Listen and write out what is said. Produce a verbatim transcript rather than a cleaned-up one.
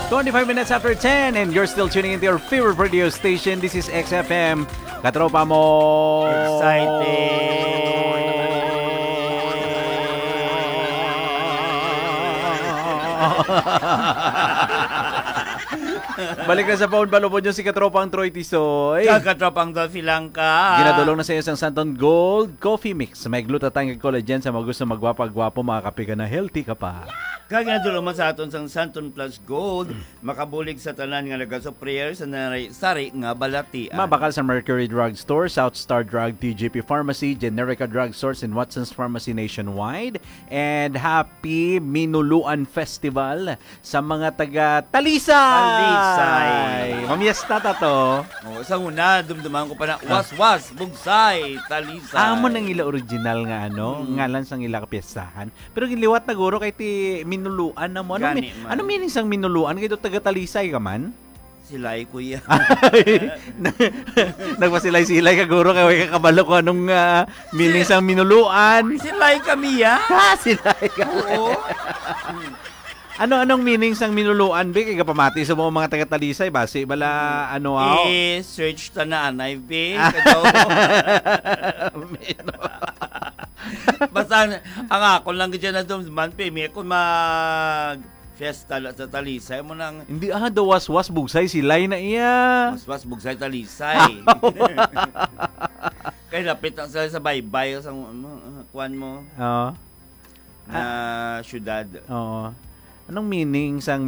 Twenty-five minutes after ten, and you're still tuning into your favorite radio station. This is X F M. Katropa mo. Excited. Balik na sa phone, palubod nyo si Katropang Troy Tisoy. Kag Katropang Dolphy Langka. Ginadulong na sa inyo sang Santon Gold Coffee Mix. May glutathione kag collagen sa mga gusto magwapa-gwapo, makakape ka na, healthy ka pa. Kag ginadulong man sa aton sang Santon Plus Gold, makabulig sa tanan nga nagasupplier sa nari-, sari nga balatian. Mabakal sa Mercury Drug Store, South Star Drug, T G P Pharmacy, Generica Drug Stores, and Watson's Pharmacy nationwide. And happy Minuluan Festival sa mga taga Talisay! Talisay. Mamiesta ta to. Oh, sa una, dumduman ko pa na, Ah. Waswas, Bugsay, Talisay. Amo nang ila original nga, ano, Mm. ngalan sang ila kapiestahan. Pero ginliwat na guro kay ti Minuluan na mo. Ano Gani mi-, man. ano meaning sang Minuluan? Kay do taga Talisay ka man? Silay, kuya. Nagpasilay-silay ka, guro, kay way ka kabalo kung anong, ah, meaning Si-, sang Minuluan. Silay kami, ya. Ah, silay ka. Oo. Ano, anong meaning sang Minuluan, be? Kay kapamati sa mga, mga taga Talisay, basi bala, ano, aw? I-search ta na, anay, be. Kadaw. Basta, ang ako lang gid siya na duman, pe, may ako mag-fiesta la sa Talisay mo nang Hindi, ah, daw Waswas, Bugsay, Silay na iya. Waswas, Bugsay, Talisay. Kay lapit lang sila sa baybay, sa, ano, kuwan mo. Oo. Na Ah. syudad. Oo. Anong meaning sang